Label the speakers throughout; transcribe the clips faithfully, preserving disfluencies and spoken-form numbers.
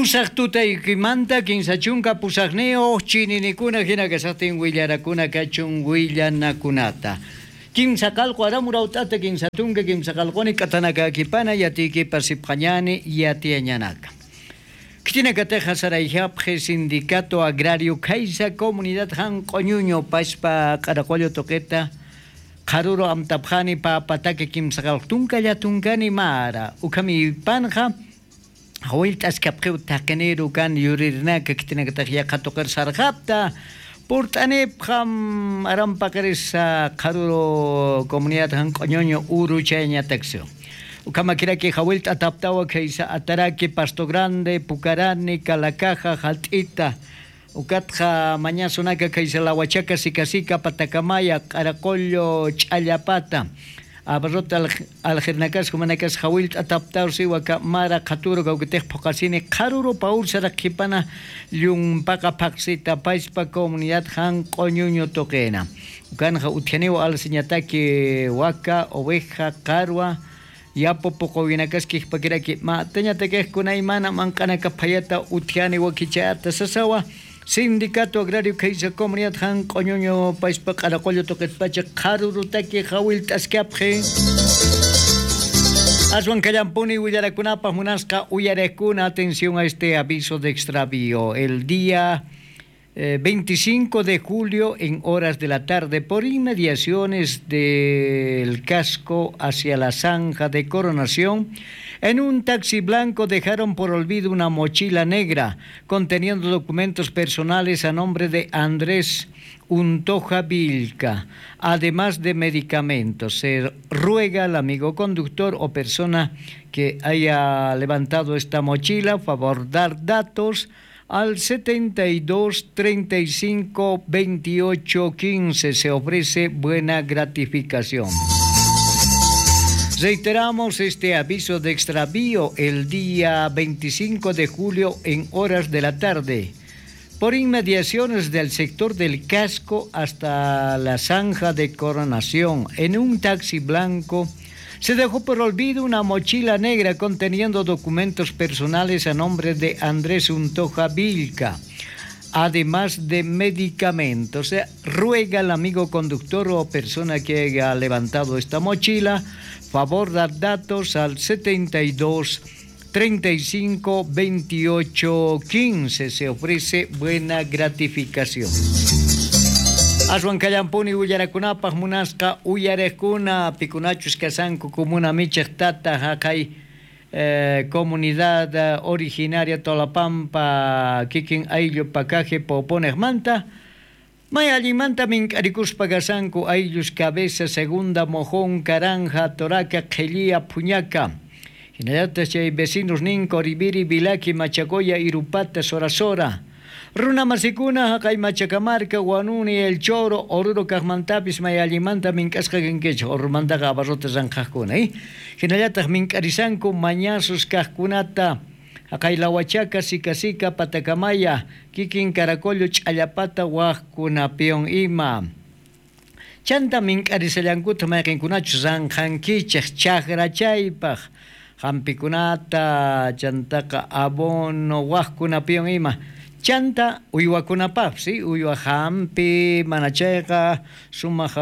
Speaker 1: Pusaq tutaykimanta kinsa chunka pusaqniyuq chininikuna hina kashaqtin willarakuna kachun willanakunata. Kimsa qalqu aramuraut'ata kimsa tunka kimsa qalquni k'atanakakipana yatiykipa sipqañani yatiyañanaka. Ktinakateja Sarayjapje Sindicato Agrario Caiza Comunidad Hanq'uñuño pashpa q'araqullu tuqita qaruro amtapjani papatake kimsa qalqu tunkalla tunkani mara ukhami panja hawilt'askapqiw taqiniru kan yurirnaka ktinakataq yaqatuqir sarqapta purt'anipqam arampaqirisa qaruro comunidad Hanq'uñuño uruchayñataksio. Ukamakiraki hawilta ataptawa kaysa ataraki Pasto Grande, Pucarani, Calacaja, Jalt'ita, ukatqa mañasunaka kaysa Lahuachaca, Sicasica, Patacamaya, Q'araqullu, Ch'allapata, abarrota aljirnakasqa manakas hawilta ataptaw siwaka mara qhaturo kawkitej phuqasini qharuro pawursara qhipana llumpaqa phaqsita payspa comunidad Hanq'uñuño tuqina. Ukanja utjaniwa alsiñataki waka, oveja, qarwa, yapo poqowinakaski pakiraki matañatakejkuna imana manqanaka phayata utjani wakichata sasawa Sindicato Agrario Caiza Comunidad Hanq'uñuño payspa q'araqullu tuqitpacha qharurutaki hawilt'askapqi. Aswan kallampuni willarakunapaq munasqa uyarekuna, atención a este aviso de extravío. El día eh, veinticinco de julio en horas de la tarde, por inmediaciones del casco hacia la zanja de Coronación, en un taxi blanco dejaron por olvido una mochila negra conteniendo documentos personales a nombre de Andrés Untoja Vilca, además de medicamentos. Se ruega al amigo conductor o persona que haya levantado esta mochila, favor dar datos al setenta y dos, treinta y cinco, veintiocho, quince. Se ofrece buena gratificación. Reiteramos este aviso de extravío el día veinticinco de julio en horas de la tarde, por inmediaciones del sector del casco hasta la zanja de Coronación, en un taxi blanco se dejó por olvido una mochila negra conteniendo documentos personales a nombre de Andrés Untoja Vilca, además de medicamentos. Se ruega al amigo conductor o persona que haya levantado esta mochila, favor dar datos al setenta y dos, treinta y cinco, veintiocho, quince. Se ofrece buena gratificación. Aswan kallampuni willarakunapaq munasqa uyarekuna pikunachus kasanku comuna michej tata haqay eh, comunidad originaria Tolapampa kikin ayllu pakaje poponejmanta may allinmanta mink'arikuspa kasanku ayllus Cabeza, Segunda, Mojón, Caranja, Toraca, Qhellía, Puñaca. Hinallataq chay vecinos nin Coribiri, Vilaqui, Machacoya, Irupata, Sorasora. Runamasikuna haqay Machacamarca, Guanuni, El Choro, Oruro kaqmantapis may allinmanta mink'asqa kankichik, Orumantaqa abarrotes ranqhaqkuna, eh? Hinallataq mink'arisanku mañasus kaqkunata haqay Lahuachaca, Sicasica, Patacamaya, kikin Caracollo, Ch'allapata, waqkunapiwan ima. Chanta mink'arisallankuta mayqinkunachus ranqhankichik chaqrachaypaq hampikunata, chantaqa abono, waqkunapiwan ima. Chanta uywakunapaq, sí, uywa hampi, manachayqa, sumaq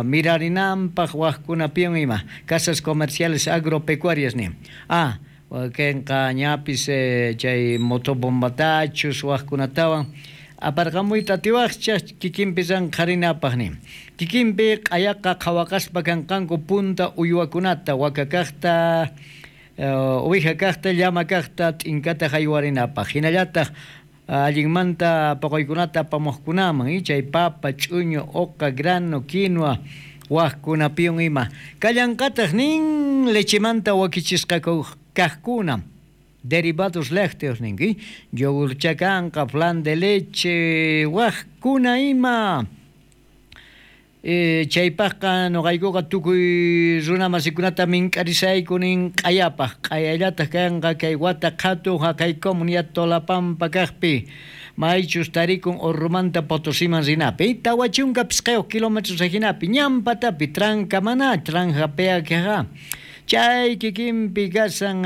Speaker 1: mirarinanpaq, waqkunapiwan ima. Casas comerciales agropecuarias ni. Ah, wakinqa ñapis eh, chay motobombatachus waqkunatawan aparqamuyta atiwaqcha kikinpi ranqharinapaq ni. Kikinpi q'ayaqa qhawaqaspa kanqanku punta uywakunata, waka kaqta, eh, uwija kaqta, llama kaqta, t'inkata haywarinapaq. Hinallataq allinmanta poqoykunata apamuqkunaman, eh, chay papa, ch'uñu, oqa, grano, quinoa, waqkunapiwan ima. Kallanqataq nin lechemanta wakichisqa kaqkuna, derivados lácteos ninki, yogur chakanqa, flan de leche, waqkuna ima. Eh, chaypaqqa nuqaykuqa tukuy runamasikunata mink'arisayku nin q'ayapaq, q'ayallataq kanqa kay wata qhatu haqay comunidad Tolapampa kaqpi, maychus tarikun Orrumanta Potosiman rinapi, tawa chunka pisqayuq kilómetros ajinapi, ñampatapi, tranca maná, tranja peaqueja. Chay kikinpi kasan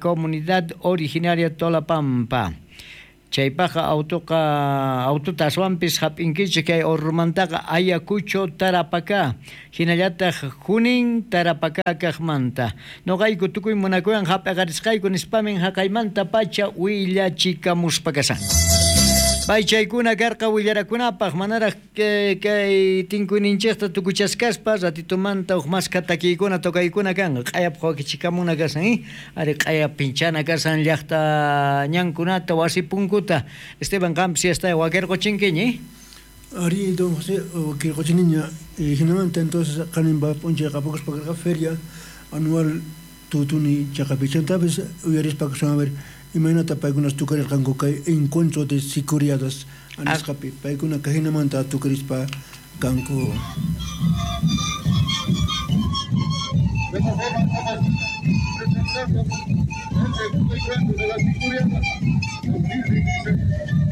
Speaker 1: comunidad originaria Tolapampa. Chaypaqa autoqa autota aswanpis hap'inkichik kay Orromantaqa Ayacucho Tarapacá, hinallataq Junín Tarapacá kaqmanta. Noqayku tukuy munakuywan hap'aqarisqayku nispamin haqaymanta pacha willachikamuspa kasan. Paychaykuna karqa willarakunapaq manaraq kay tinkuyninchikta tukuchaskaspa ratitumanta huk maska takiykuna tokaykuna kanqa q'ayapaq wakichikamuna kasan eh ari q'aya pinchana kasan llaqta ñankunata wasi punkuta. Esteban qampis yasta wakirquchinkiñi.
Speaker 2: Ari don José wakirquchiniña hinamanta entonces qaninpa p'unchay qapakuspa karqa feria anual tutuni chaqapi chantapis uyarispa kasun a ver imaynata paykunas tukarirqanku kay encuentro de sicuriadas anisqapi paykuna kajinamanta tukarispa kanku.
Speaker 3: De esta forma estamos presentando el encuentro de las sicuriadas dos mil veintitrés.